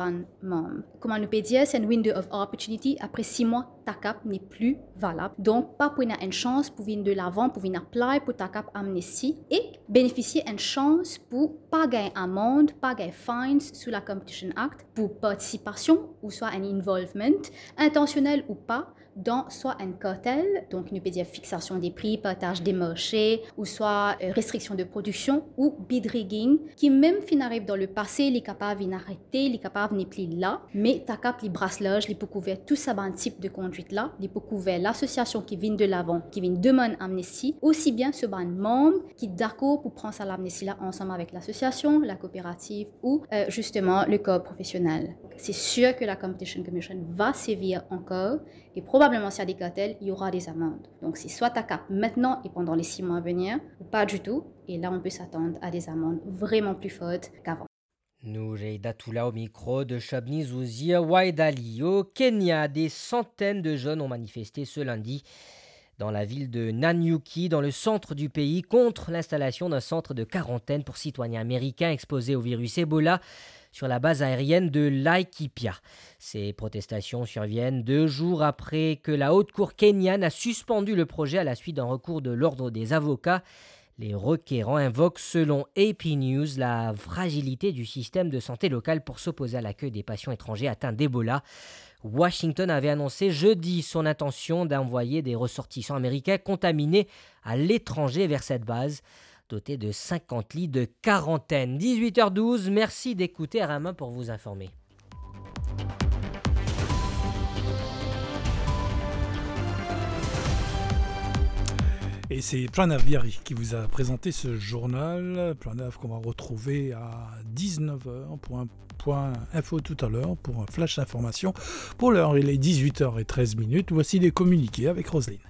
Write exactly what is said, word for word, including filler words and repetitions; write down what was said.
bann manm. Kouma nou pe dir, se enn window of opportunity, apre sis mwa, TACAP nepli valab. Donk, pa pou ena enn sans pou vinn de lavan, pou vinn apply pou TACAP amnesty e benefisie enn sans pou pa gagn amand, pa gagn fines sou la Competition Act pou partisipasion ouswa enn involvement, intansionel ou pa, dan swa enn kartel, donk nou pe dir fiksasion de pri, partaz de marse, ouswa, euh, restriksion de prodiksion ou bid rigging, ki mem finn ariv dan lepase, li kapav vinn arete, li kapav nepli la, me TACAP li bras larz, li pou kouver tou sa bann tip de kondwit la, li pou kouver lasosiasion ki vinn de lavan, ki vinn demann amnesty, osi bien so bann manm ki dakor pou pran sa lamnesty la ansam avek lasosiasion, la kooperativ ou, euh, zisteman le kor profesionel. Se sir ke la Competition Commission va servir ankor e probableman si ena de kartel, il y aura des amendes. Donc, c'est soit TACAP maintenant et pendant les six mois à venir, ou pas du tout. Et là, on peut s'attendre à des amendes vraiment plus fortes qu'avant. Noureida Toula au micro de Shobni Zouzir Waidali. Au Kenya, des centaines de jeunes ont manifesté ce lundi dans la ville de Nanyuki, dans le centre du pays, contre l'installation d'un centre de quarantaine pour citoyens américains exposés au virus Ebola sur la base aérienne de Laikipia. Ces protestations surviennent deux jours après que la Haute Cour kenyane a suspendu le projet à la suite d'un recours de l'Ordre des avocats. Les requérants invoquent, selon A P News, la fragilité du système de santé local pour s'opposer à l'accueil des patients étrangers atteints d'Ebola. Washington avait annoncé jeudi son intention d'envoyer des ressortissants américains contaminés à l'étranger vers cette base, dotée de cinquante lits de quarantaine. Dix-huit heures douze, merci d'écouter R M un pour vous informer. Et c'est Pranav Biari qui vous a présenté ce journal. Pranav qu'on va retrouver à dix-neuf heures pour un point info tout à l'heure, pour un flash d'information. Pour l'heure, il est dix-huit heures et treize minutes. Voici les communiqués avec Roselyne.